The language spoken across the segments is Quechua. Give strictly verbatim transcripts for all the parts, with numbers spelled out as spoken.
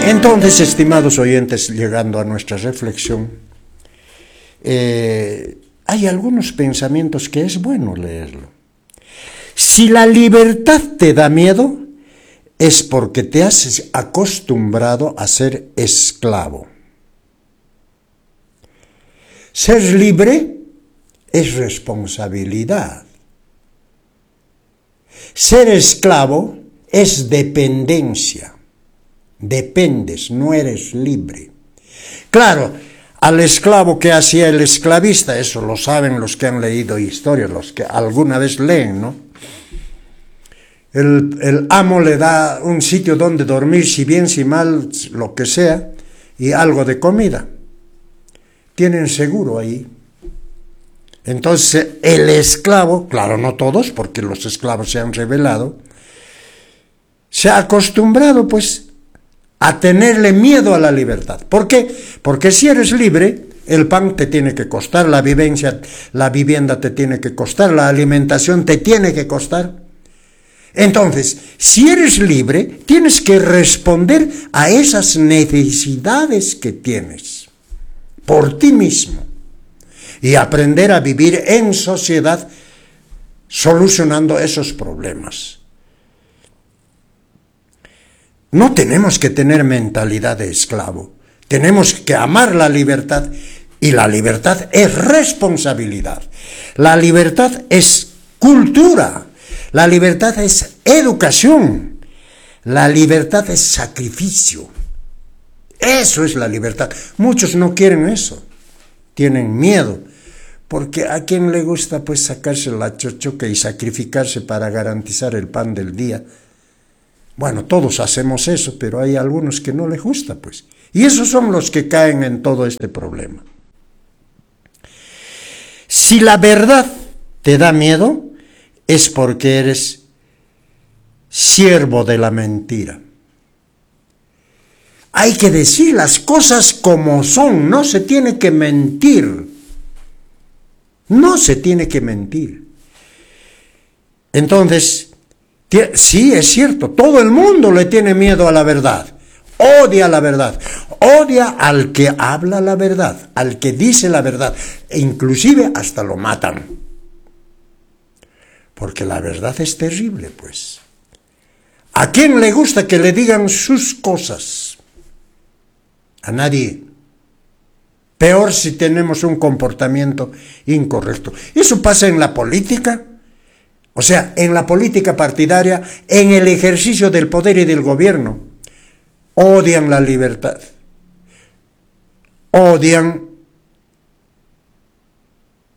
Entonces, estimados oyentes, llegando a nuestra reflexión, eh, hay algunos pensamientos que es bueno leerlo. Si la libertad te da miedo, es porque te has acostumbrado a ser esclavo. Ser libre es responsabilidad. Ser esclavo es dependencia. Dependes, no eres libre. Claro, al esclavo que hacía el esclavista, eso lo saben los que han leído historias, los que alguna vez leen, ¿no? El, el amo le da un sitio donde dormir, si bien, si mal, lo que sea, y algo de comida. Tienen seguro ahí. Entonces, el esclavo, claro, no todos, porque los esclavos se han rebelado, se ha acostumbrado, pues, a tenerle miedo a la libertad. ¿Por qué? Porque si eres libre, el pan te tiene que costar, la vivencia, la vivienda te tiene que costar, la alimentación te tiene que costar. Entonces, si eres libre, tienes que responder a esas necesidades que tienes por ti mismo y aprender a vivir en sociedad solucionando esos problemas. No tenemos que tener mentalidad de esclavo, tenemos que amar la libertad, y la libertad es responsabilidad. La libertad es cultura, la libertad es educación, la libertad es sacrificio. Eso es la libertad. Muchos no quieren eso, tienen miedo, porque a quien le gusta pues sacarse la chochoca y sacrificarse para garantizar el pan del día. Bueno, todos hacemos eso, pero hay algunos que no les gusta, pues. Y esos son los que caen en todo este problema. Si la verdad te da miedo, es porque eres siervo de la mentira. Hay que decir las cosas como son, no se tiene que mentir. No se tiene que mentir. Entonces, sí, es cierto, todo el mundo le tiene miedo a la verdad, odia la verdad, odia al que habla la verdad, al que dice la verdad, e inclusive hasta lo matan. Porque la verdad es terrible, pues. ¿A quién le gusta que le digan sus cosas? A nadie. Peor si tenemos un comportamiento incorrecto. Eso pasa en la política. O sea, en la política partidaria, en el ejercicio del poder y del gobierno. Odian la libertad. Odian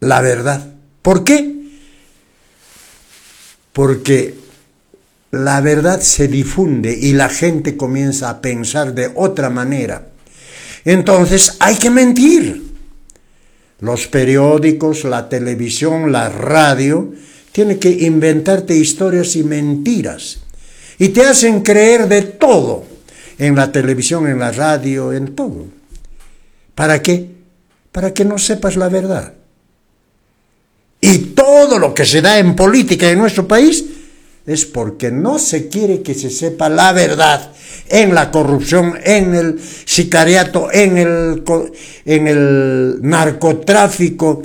la verdad. ¿Por qué? Porque la verdad se difunde y la gente comienza a pensar de otra manera. Entonces hay que mentir. Los periódicos, la televisión, la radio, tienen que inventarte historias y mentiras. Y te hacen creer de todo. En la televisión, en la radio, en todo. ¿Para qué? Para que no sepas la verdad. Y todo lo que se da en política en nuestro país es porque no se quiere que se sepa la verdad en la corrupción, en el sicariato, en el, en el narcotráfico,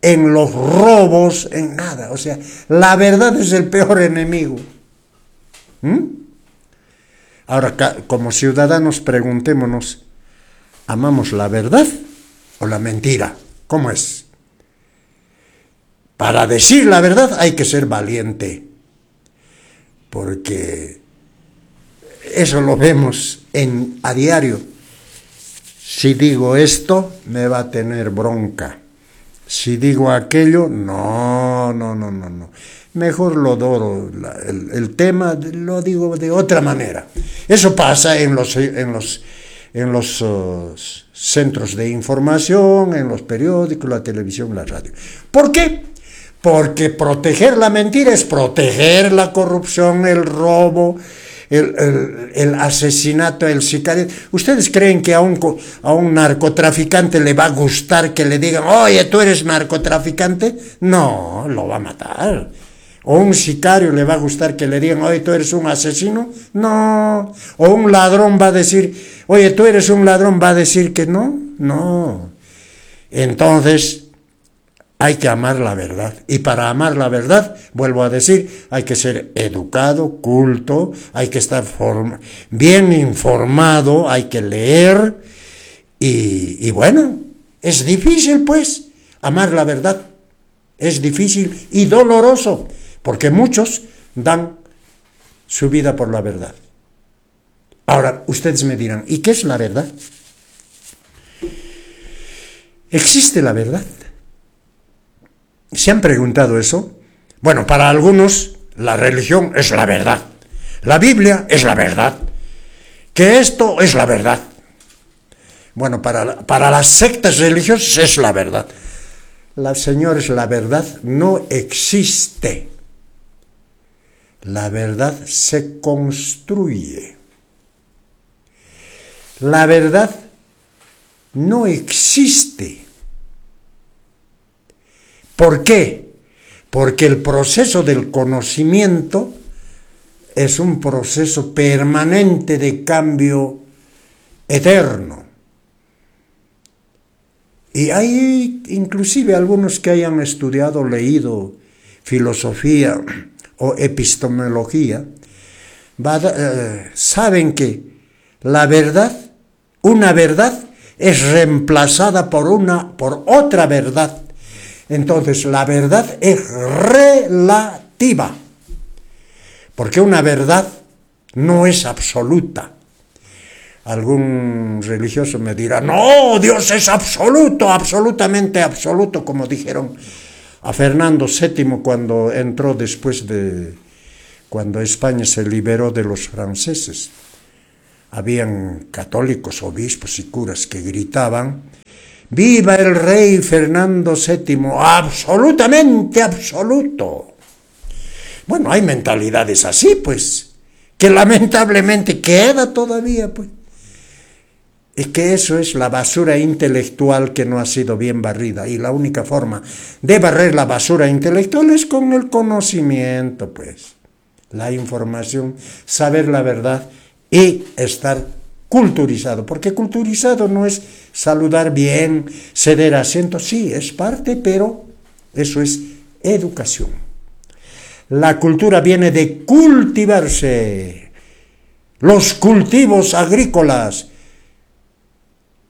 en los robos, en nada. O sea, la verdad es el peor enemigo. ¿Mm? Ahora, como ciudadanos, preguntémonos, ¿amamos la verdad o la mentira? ¿Cómo es? Para decir la verdad hay que ser valiente, porque eso lo vemos en, a diario. Si digo esto, me va a tener bronca. Si digo aquello, no, no, no, no, no. Mejor lo doro, el, el tema lo digo de otra manera. Eso pasa en los, en los, en los uh, centros de información, en los periódicos, la televisión, la radio. ¿Por qué? Porque proteger la mentira es proteger la corrupción, el robo, el, el, el asesinato, el sicario. ¿Ustedes creen que a un, a un narcotraficante le va a gustar que le digan, oye, tú eres narcotraficante? No, lo va a matar. ¿O un sicario le va a gustar que le digan, oye, tú eres un asesino? No. ¿O un ladrón va a decir, oye, tú eres un ladrón, va a decir que no? No. Entonces, hay que amar la verdad. Y para amar la verdad, vuelvo a decir, hay que ser educado, culto, hay que estar bien informado, hay que leer. Y, y bueno, es difícil, pues, amar la verdad. Es difícil y doloroso, porque muchos dan su vida por la verdad. Ahora, ustedes me dirán, ¿y qué es la verdad? ¿Existe la verdad? ¿Se han preguntado eso? Bueno, para algunos la religión es la verdad. La Biblia es la verdad. Que esto es la verdad. Bueno, para, para las sectas religiosas es la verdad. La, señores, la verdad no existe. La verdad se construye. La verdad no existe. ¿Por qué? Porque el proceso del conocimiento es un proceso permanente de cambio eterno. Y hay inclusive algunos que hayan estudiado, leído filosofía o epistemología, va, eh, saben que la verdad, una verdad, es reemplazada por, una, por otra verdad. Entonces, la verdad es relativa, porque una verdad no es absoluta. Algún religioso me dirá, no, Dios es absoluto, absolutamente absoluto, como dijeron a Fernando séptimo cuando entró después de, cuando España se liberó de los franceses. Habían católicos, obispos y curas que gritaban, ¡viva el rey Fernando séptimo! ¡Absolutamente absoluto! Bueno, hay mentalidades así, pues, que lamentablemente queda todavía, pues. Es que eso es la basura intelectual que no ha sido bien barrida. Y la única forma de barrer la basura intelectual es con el conocimiento, pues. La información, saber la verdad y estar culturizado. Porque culturizado no es saludar bien, ceder asiento. Sí, es parte, pero eso es educación. La cultura viene de cultivarse. Los cultivos agrícolas.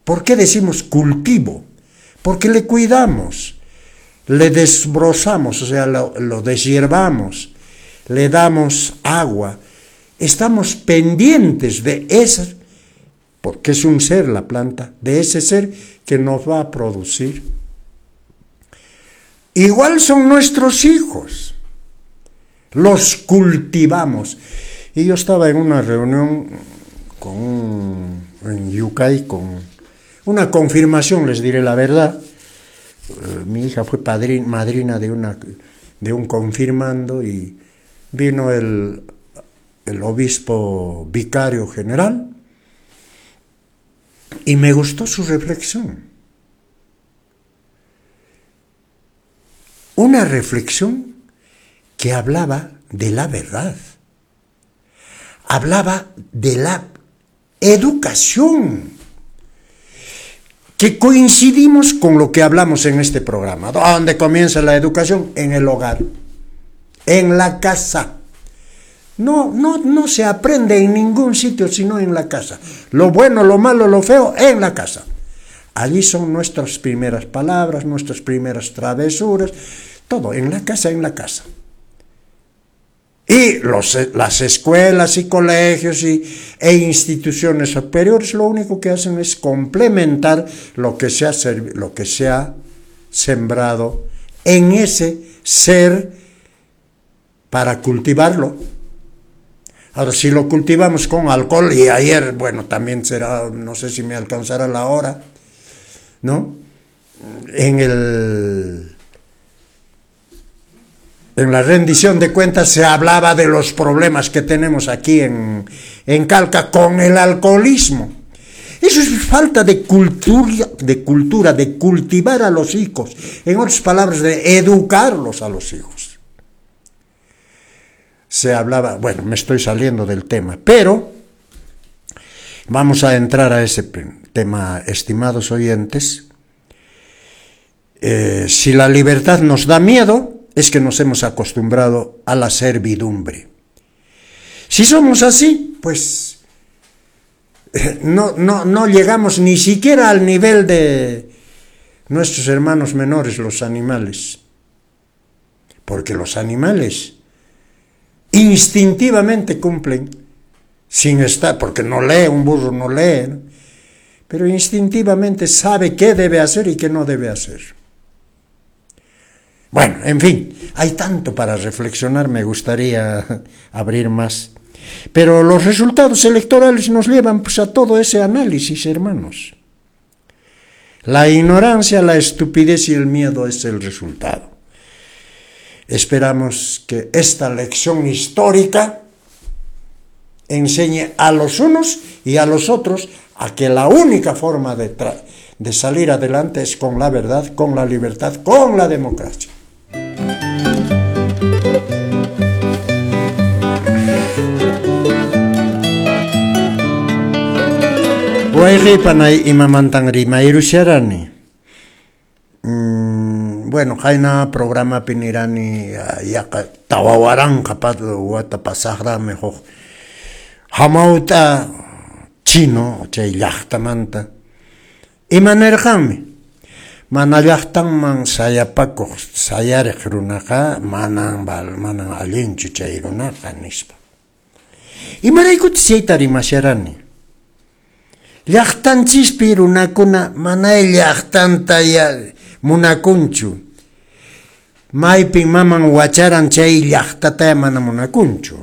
¿Por qué decimos cultivo? Porque le cuidamos, le desbrozamos, o sea, lo, lo deshiervamos, le damos agua. Estamos pendientes de ese, porque es un ser la planta, de ese ser que nos va a producir. Igual son nuestros hijos, los cultivamos. Y yo estaba en una reunión con un, en Yucay con una confirmación, les diré la verdad. Mi hija fue padrina, madrina de, una, de un confirmando y vino el, el obispo vicario general y me gustó su reflexión. Una reflexión que hablaba de la verdad. Hablaba de la educación, que coincidimos con lo que hablamos en este programa. ¿Dónde comienza la educación? En el hogar, en la casa. No, no, no se aprende en ningún sitio sino en la casa. Lo bueno, lo malo, lo feo, en la casa. Allí son nuestras primeras palabras, nuestras primeras travesuras, todo en la casa, en la casa. Y los, las escuelas y colegios y, e instituciones superiores lo único que hacen es complementar lo que se ha, lo que se ha sembrado en ese ser para cultivarlo. Ahora, si lo cultivamos con alcohol, y ayer, bueno, también será, no sé si me alcanzará la hora, ¿no? En el... En la rendición de cuentas se hablaba de los problemas que tenemos aquí en, en Calca con el alcoholismo. Eso es falta de cultura, de cultura, de cultivar a los hijos. En otras palabras, de educarlos a los hijos. Se hablaba, bueno, me estoy saliendo del tema, pero vamos a entrar a ese tema, estimados oyentes. Eh, si la libertad nos da miedo, es que nos hemos acostumbrado a la servidumbre. Si somos así, pues no, no, no llegamos ni siquiera al nivel de nuestros hermanos menores, los animales. Porque los animales instintivamente cumplen, sin estar, porque no lee, un burro no lee, ¿no? Pero instintivamente sabe qué debe hacer y qué no debe hacer. Bueno, en fin, hay tanto para reflexionar, me gustaría abrir más. Pero los resultados electorales nos llevan, pues, a todo ese análisis, hermanos. La ignorancia, la estupidez y el miedo es el resultado. Esperamos que esta lección histórica enseñe a los unos y a los otros a que la única forma de, de salir adelante es con la verdad, con la libertad, con la democracia. Wayqipanay imamantan rimayrusharani. Mm, bueno, qayna programapi nirani yaqa tawa waranqa wata pasaqraqmi huk hamawt'a chino chay llaqtamanta. Ima nirqanmi? Mana llaqtanman sayapakuq sayariq runaqa manan manan allinchu chay runaqa nispa. Imaraykutaq chayta rimasharani? Llaqtanchispi runakuna manay llaqtanta munakunchu. Maypin maman wacharan chay llaqtata mana munakunchu.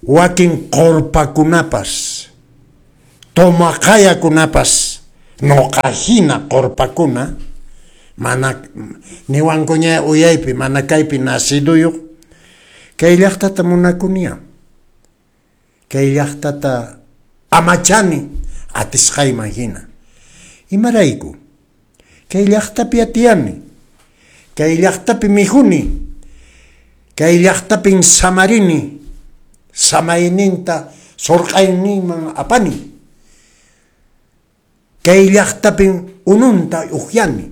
Wakin qorpakunapas, tomaqayakunapas, noqahina qorpakuna, mana niwankuña uyaypi, mana kaypi naciduyuq, kay llaqtata munakunia. Kay llaqtata amachani atisqayman hina. Imarayku? Kay llaqtapi atiyani, kay llaqtapi mijuni, kay llaqtapin samarini, samayninta surq'ayninman apani, kay llaqtapin ununta uhyani,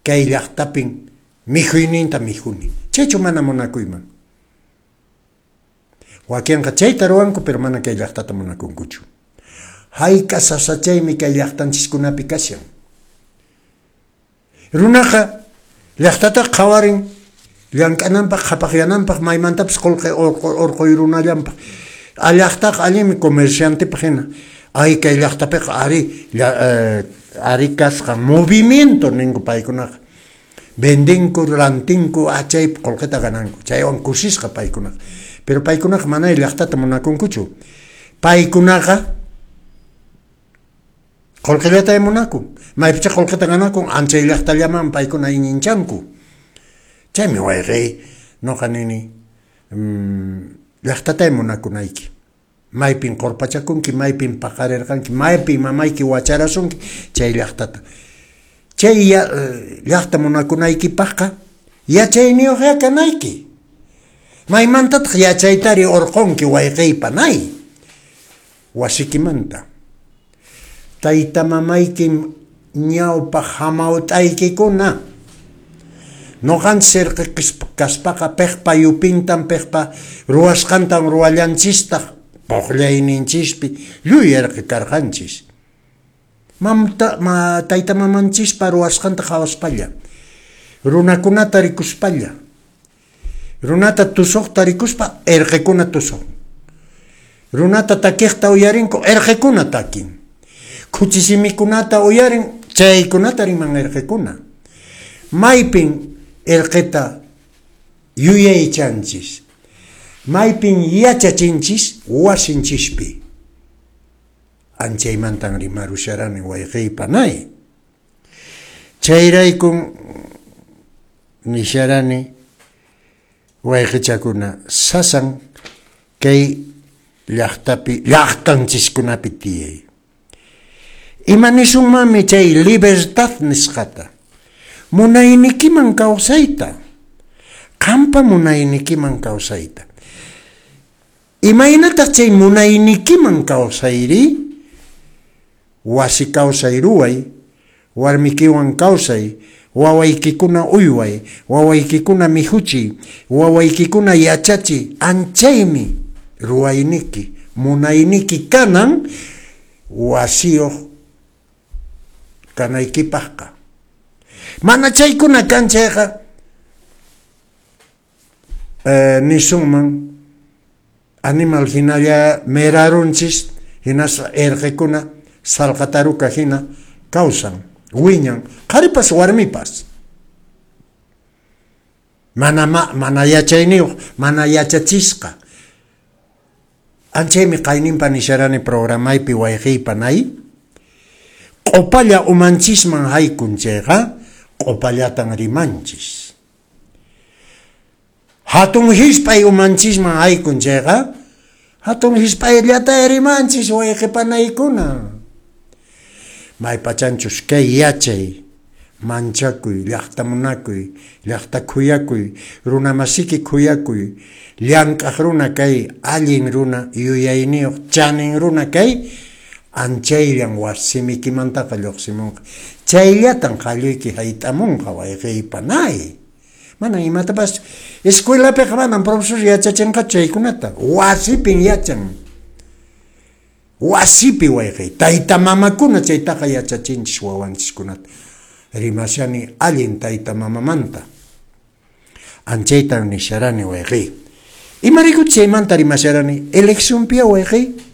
kay llaqtapin mijuyninta mijuni. Chaychu mana munakuyman. Wakinqa chayta ruwanku, pero mana kay llaqtata munakunkuchu. Hayk'a sasachaymi kay llaqtanchiskunapi kashan. Runaqa llaqtata qhawarin llank'ananpaq, qhapaqyananpaq, maymantapas qullqi urquy runallanpaq. A llaqtaqa allinmi comerciantepaq hina. Ay kay llaqtapiqa ari ari kasqa movimiento ninku paykunaqa. Vendinku, rantinku, chaypi qullqita gananku. Chaywan kusisqa paykunaqa. Pero paykunaqa manay llaqtata munakunkuchu. Paykunaqa qullqillata munakun. Maypicha qullqita ganakun, anchay llaqtallaman paykuna iñinchanku. Chaymi wayqiy, noqa nini, llaqtata munakunayki. Maypin qorpachakunki, maypin paqarirqanki, maypin mamayki wacharasunki, chay llaqtata. Chay llaqta munakunaykipaqqa yachayniyuqya kanayki. Maymantataq yachaytari urqunki wayqiypanay wasikimanta. Tayta mamaykim ñawpaq hamawt'aykikuna. Noqanchis kaspaqa piqpa yupintan, piqpa ruwasqantan ruwallanchistaq puqllayninchispi lluy irqi karqanchis. Mamta, ma, tayta mamanchispa ruwasqanta qhawaspalla, runakunata rikuspalla, runata tusuqta rikuspa irqikuna tusuq, runata takiqta uyarinku irqikuna takin, khuchisimikunata uyarin chaykunata riman irqikuna. Maypin irqita yuyaychanchis, maypin yachachinchis wasinchispi. Anchaymantan rimarusharani wayqiypanay. Chayraykun nisharani wayqichakuna sasan kay llaqtapi llaqtanchiskunapi tiyay. Ima nisunmanmi chay libertad nisqata? Munaynikiman kawsayta, Qampa munaynikiman kawsayta. Imaynataq chay munaynikiman kawsayri? Wasi kawsay ruway, warmikiwan kawsay, wawaykikuna uyway, wawaykikuna mihuchiy, wawaykikuna yachachiy, anchaymi ruwayniki, munayniki kanan wasiyuq kanaykipaqqa. Mana chaykuna kan chayqa eh, nisunman animal hinalla merarunchis, hinaspa erqekuna salqataruka hina kawsan, wiñan, qharipas warmipas. Mana ma, mana yachayniyuq, mana yachachisqa. Anchaymi qayninpa nisharani programaypi wayqiypa nay. Q'upalla umanchisman haykun chayqa, q'upallatan rimanchis. Hatun hisp'ay umanchisman haykun chayqa, hatun hisp'ayllata rimanchis wayqipanaykuna. Maypachanchus kay yachay, manchakuy, llaqta munakuy, llaqta khuyakuy, runa masiki khuyakuy, llank'aq runa kay, allin runa, yuyayniyuq, chanin runa kay, anchayllan wasimikimantaqa lluqsimunqa. Chayllatan qalluyki hayt'amunqa wayqiypanay. Mana imatapas escuelapiqa manan profesor yachachinqachu chaykunata. Wasipin yachan. Wasipi wayqiy. Tayta mamakuna chaytaqa yachachinchis wawanchiskunata. Rimashani allin tayta mamamanta. Anchaytan nisharani wayqiy. Imarayku chaymanta rimasharani? Eleccionpia wayqiy.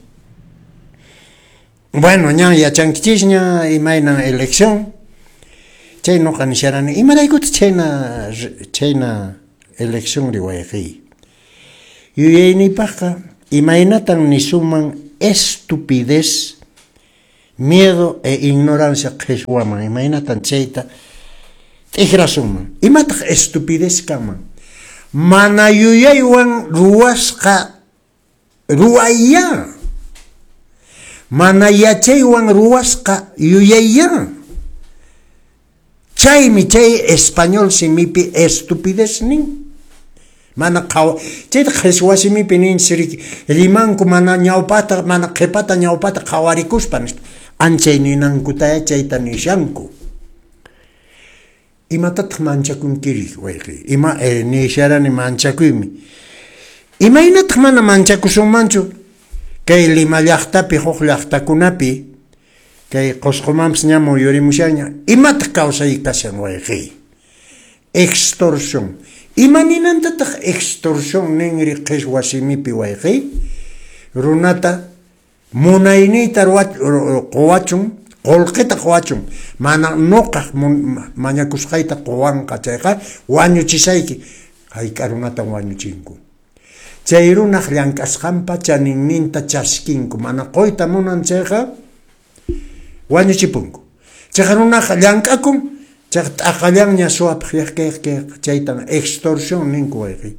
Bueno, ñan yachankichisña imaynan elección. Chay noqa nisharani. Imaraykutaq chayna chayna elección ri wayqiy? Yuyayniypaqqa imaynatan nisunman estupidez, miedo e ignorancia qhishwaman, imaynatan chayta t'ikrasunman. Imataq estupidez kanman? Mana yuyaywan ruwasqa ruwayya. Mana yachaywan ruwasqa yuyayya. Chaymi chay español simipi estupidez nin. Mana qhawa chayta qhishwa simipi ninchis riki rimanku mana ñawpata mana qhipata ñawpata qhawarikuspa nispa. Anchay ninankutaya chayta nishanku. Imatataq manchakunkiri wayqiy? Ima eh, nisharani manchakuymi. Imaynataq mana manchakusunmanchu? Kay Lima llaqtapi huk llaqtakunapi kay Qusqumanpas ña muyurimushanña. Imataq kawsay kashan wayqiy? Extorsión. Ima ninantataq extorsión ninri qhishwa simipi wayqiy? Runata munayniyta quwachun, qullqita quwachun, mana nuqaq mañakusqayta quwanqa chayqa wañuchisayki. Hayk'a runatan wañuchinku. Chay runaq llank'asqanpa chaninninta chaskinku, mana quyta munan chayqa wañuchipunku. Chayqa runaqa llank'akun, chayqa t'aqallanña suwapaq yaqkayq chaytan extorsión ninku wayqiy.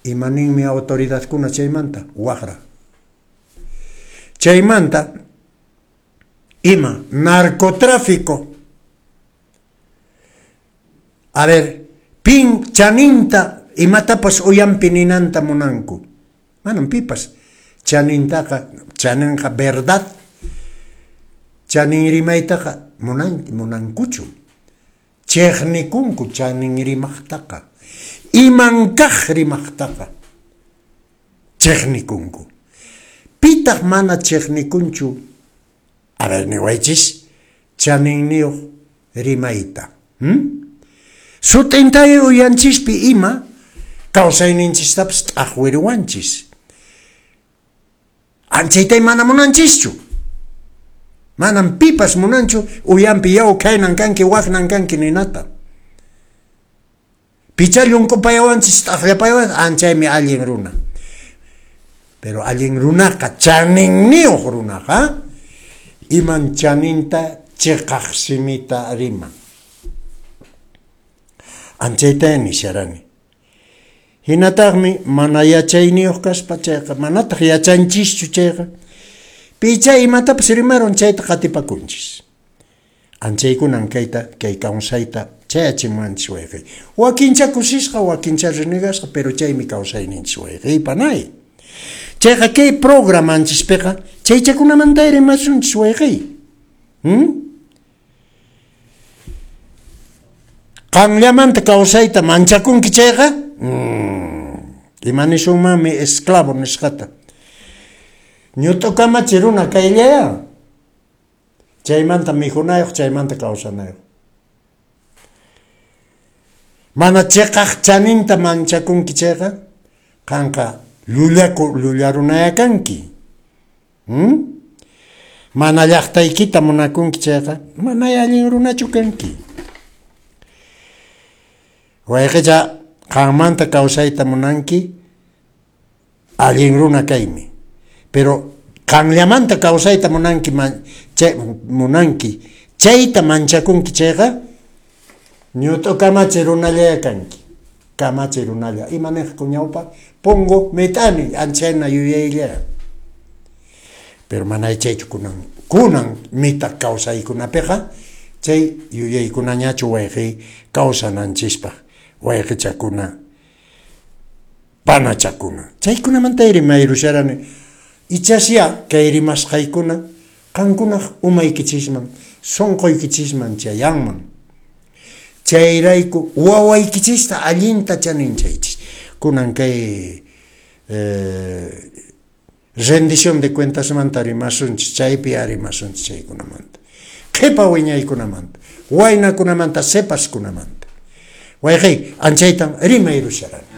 Ima ninmi autoridadkuna chaymanta? Waqra. Chaymanta ima narcotráfico. A ver, pin chaninta imatapas uyanpi ninanta munanku. Manan pipas chanintaqa, chaninqa verdad. Chanin rimaytaqa munan, munankuchu. Chiqnikunku chanin rimaqtaqa. Iman kaq rimaqtaqa chiqnikunku. Pitaq mana chiqnikunchu? A ver, niwaychis, chaninniyuq rimayta. Hmm? Sut'intay uyanchispi ima kawsayninchistapas t'aqwiriwanchis. Anchaytay mana munanchischu. Manam pipas munanchu uyanpi yaw khaynan kanki waknan kanki ninata. Picha llunkupayawanchis t'aqllapayawanchis anchaymi allin runa. Pero allin runaqa chaninniyuq runaqa iman chaninta chiqaq simita riman. Anchayta nisharani. Hinataqmi mana yachayniyuq kaspa chayqa manataq yachanchischu chayqa picha imatapas rimarun chayta qatipakunchis. Anchaykunan kayta kay kawsayta Chayachimuwanchis wayqey. Wakincha kusisqa, wakincha renegasqa, pero chaymi kawsayninchis wayqey panay. Chayqa kay programanchispiqa chaychakunamanta rimasunchis wayqey. Hmm? Qanllamanta kawsayta manchakunki chayqa, hmm, ima nisunmanmi esclavo nisqata. Ñut'u kamachi runa kayllaya. Chaymanta mikhunayuq, chaymanta kawsanayuq. Mana chiqaq chaninta manchakunki chayqa, qanqa llullaku llullarunaya kanki. Hmm? Mana llaqtaykita munakunki chayqa, mana allin runachu kanki. Wayqicha qanmanta kawsayta munanki, allin runa kaymi. Pero qanllamanta kawsayta munanki man, chay, munanki, chayta manchakunki chayqa, ñut'u kamachi runallaya kanki. Kamachi runalla. Ima niqku ñawpa? Pongo mit'ani, anchayna yuyayllaya. Pero mana chaychu kunan, kunan mita kawsaykunapiqa, chay yuyaykunañachu wayqi kawsananchispaq, wayqichakuna, panachakuna. Chaykunamanta rimayrusharani. Ichasya kay rimasqaykuna qankunaq umaykichisman, sunquykichisman chayanman. Chayrayku wawaykichista allinta chaninchaychis. Kunan kay eh, rendición de cuentasmanta rimasunchis, chaypi rimasunchis chaykunamanta. Qhipa wiñaykunamanta, waynakunamanta, sepaskunamanta. Wayqey, anchaytan rimayrusharani.